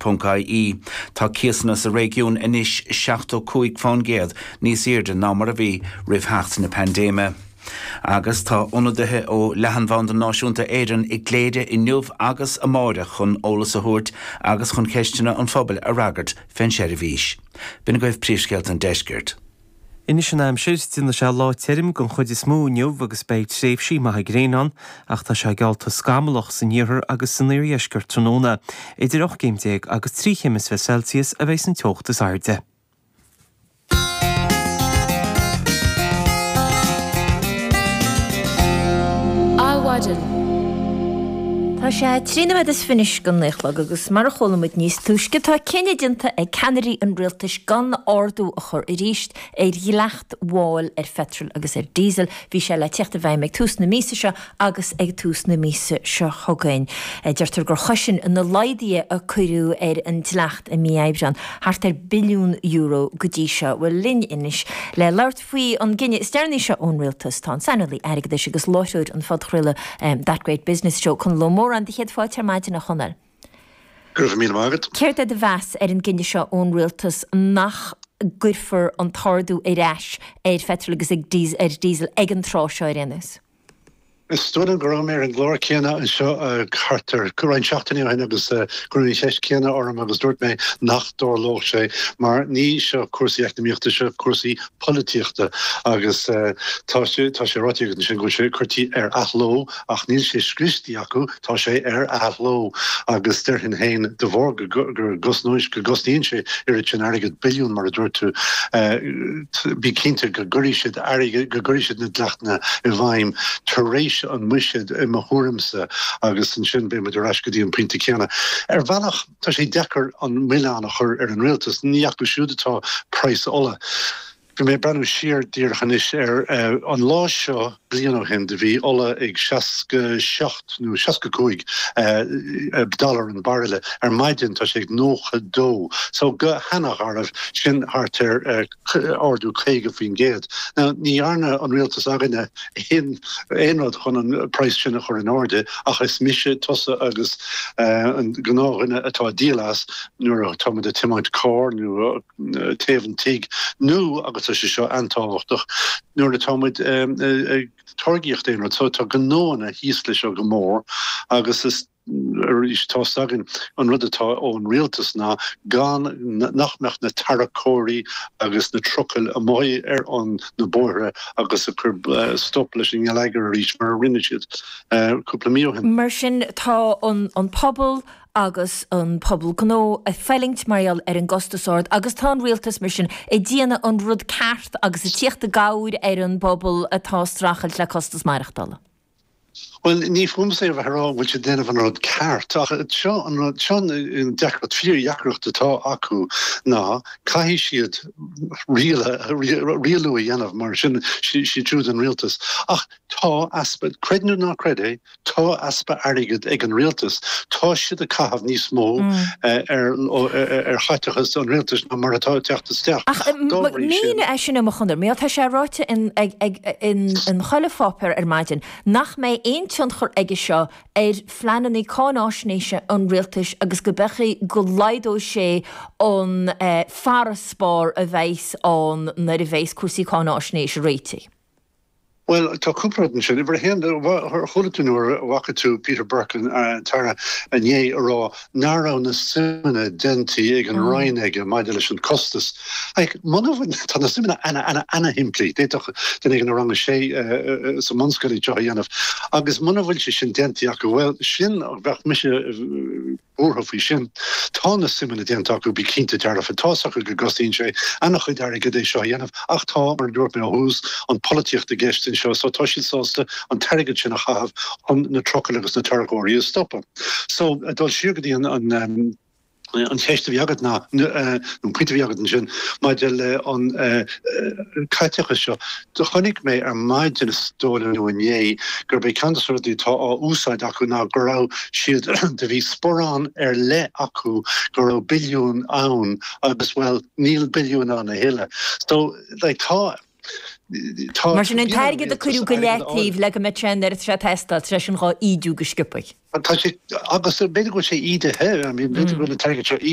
Ponc IE. Tá cíosanna sa réigiún anois 75 fán gcéad níos airde ná mar a bhí roimh theacht na paindéime. Agus tá ionadaithe ó Leathanbhanda Náisiúnta Éireann i gCléire inniu agus amáireach chun eolas a thabhairt agus chun ceisteanna an phobail a fhreagairt fén seirbhís. B'in agaibh príomhscéalta an deiscirt. Anois an aimsir, déanfaidh sé lá tirim den chuid is mó inniu agus beidh tréimhsí maithe gréine ann ach tá sé geallta scamallach san iarthar agus san iardheisceart tráthnóna. Idir 18 céim agus 23 chéim Celsius a bheidh an teocht is airde. Adhmhaidin. Tá sé 23 nóiméad don naoi a chlog agus mar a chuala muid níos túisce tá cinneadh déanta ag ceannairí an rialtais gan ardú a chur arís ar dhleacht mháil ar pheitreal agus ar diesel. Bhí sé le teacht i bhfeidhm ag tús na míosa seo agus ag tús na míosa seo chugainn. Deirtear gur chosain na laghduithe a cuireadh ar an dleacht i mí Aibreáin thart ar billiún euro go dtí seo. Bhuel, linn anois le labhairt faoi an gcinneadh is deireanaí seo ón Rialtas tá an saineolaí airgeadais agus láithreoir an phodchraoladh That Great Business Show, Conall Ó Móráin. Do chéad fáilte ar maidin, a Chonaill. Go raibh míle maith agat. Céard é do mheas ar an gcinneadh seo ón Rialtas nach gcuirfear an t-ardú ar ais ar pheitreal agus ar diesel ag an tráth seo ar aon nós? Is dóigh liom go raibh mé ar an gclár céanna anseo thart ar roinnt seachtainí ó shin agus cuireadh an cheist chéanna orm agus dúirt mé nach dtarlódh sé mar ní seo cúrsaí eacnamaíochta, seo cúrsaí polaitíochta agus tá sé tá sé ráite agat ansin go bhfuil sé curtha ar athló ach níl sé scriosta acu, tá sé ar athló agus déarfainn féin de bharr go gcosnóidh go gcosnaíonn sé oiread sin airgead, billiún mar a dúirt tú, Bí cinnte go gcuirfidh siad airgead, go gcuirfidh siad na dleachtanna i bhfeidhm tar éis an mbuiséid, i mo thuairimse, agus ansin beidh muid ar ais go dtí an pointe céanna. Ar bhealach, tá sé deacair an milleán a chur ar an rialtas, ní acu siúd atá praghas ola. Bhí mé ag breathnú siar díreach anois ar an lá seo bliain ó shin, do bhí ola ag 67 nó 65 dollar an bairille. Ar maidin tá sé ag 92. So go hana-gharbh, sin thart ar ardú 50%. Now ní dhearna an rialtas againne aon aon rud chun an praghas sin a chur in airde ach is mise, tusa agus an gnáthdhuine atá ag díol as nuair atá muid ag tiomáint carr nó téamh an tigh nó, agus tá sé seo an-tábhachtach, nuair atá muid ag táirgíocht aon rud. So tá gnóanna thíos leis seo go mór agus is arís tá 's againn an rud atá ón rialtas ná gan nach mbeadh na tarracóirí agus na trucail amuigh ar an na bóithre agus ag cur stop leis an ngeilleagar arís mar a rinne siad cúpla mí ó shin. Mar sin tá an pobal agus an pobal gnó ag fulaingt mar gheall ar an gcostas ard agus tá an rialtas mar sin ag déanamh an rud ceart agus ag tíocht i gcabhair ar an bpobal atá ag streachailt le costas maireachtála. Bhuel, ní fúmsa é a bheith ag rá an bhfuil siad ag déanamh an rud ceart ach seo an rud, seo an deacracht, fíordheacracht atá acu ná caithfidh siad rialú a dhéanamh mar sin siad siúd an rialtas ach tá easpa, creid nó ná creid é, Tá easpa airgid ag an rialtas. Tá siad ag caitheamh níos mó ar chaiteachas an rialtais ná mar atá ag teacht isteach. Ach mínigh é sin dom a Chonaill, mar tá sé ráite in chuile pháipéar ar maidin nach mbeidh aon tionchar aige seo ar phleananna cáináisnéise an rialtais agus go mbeidh go laghdóidh sé an farasbarr a bheas ann nuair a bheas cúrsaí cáináisnéise réitithe. Bhuel, tá cúpla rud ansin. Uimhir a haon, chuala tú nó an bhfaca tú Peter Burke, an tAire, inné ag rá nach raibh na suimeanna déanta ag an Roinn aige maidir leis an costas. Like, muna bhfuil, tá na suimeanna ana, ana, ana-shimplí. D'fhéadfadh duine éigin i rang a sé sa mbunscoil iad seo a dhéanamh. Agus muna bhfuil sé sin déanta acu, bhuel, sin, bheadh mise, buartha faoi sin. Tá na suimeanna déanta acu, bí cinnte dearfa. Tá's acu go gcosnaíonn sé ana-chuid airgid é seo a dhéanamh ach tá, mar a dúirt mé ó thús, an pholaitíocht i gceist anseo so tá siad sásta an t-airgead sin a chaitheamh chun na trucail agus na tarracóirí a stopadh. So, ag dul siar go dtí an an cheist a bhí agat ná, nó an pointe a bhí agat ansin maidir le an caiteachas seo. Do chonaic mé ar maidin is dóigh liom nó inné gurb é ceann de na rudaí atá á úsáid acu ná go raibh siad, do bhí sparán ar leith acu go raibh billiún ann agus bhuel níl billiún ann a thuilleadh. So like tá, tá, Mar sin an t-airgead a cuireadh go leataobh le go mbeadh sé nuair atá sé ag teastáil, tá sé sin dhá ídiú go sciobtha. Tá sé, agus b'fhéidir go bhfuil sé ídithe, I mean b'fhéidir go bhfuil an t-airgead seo.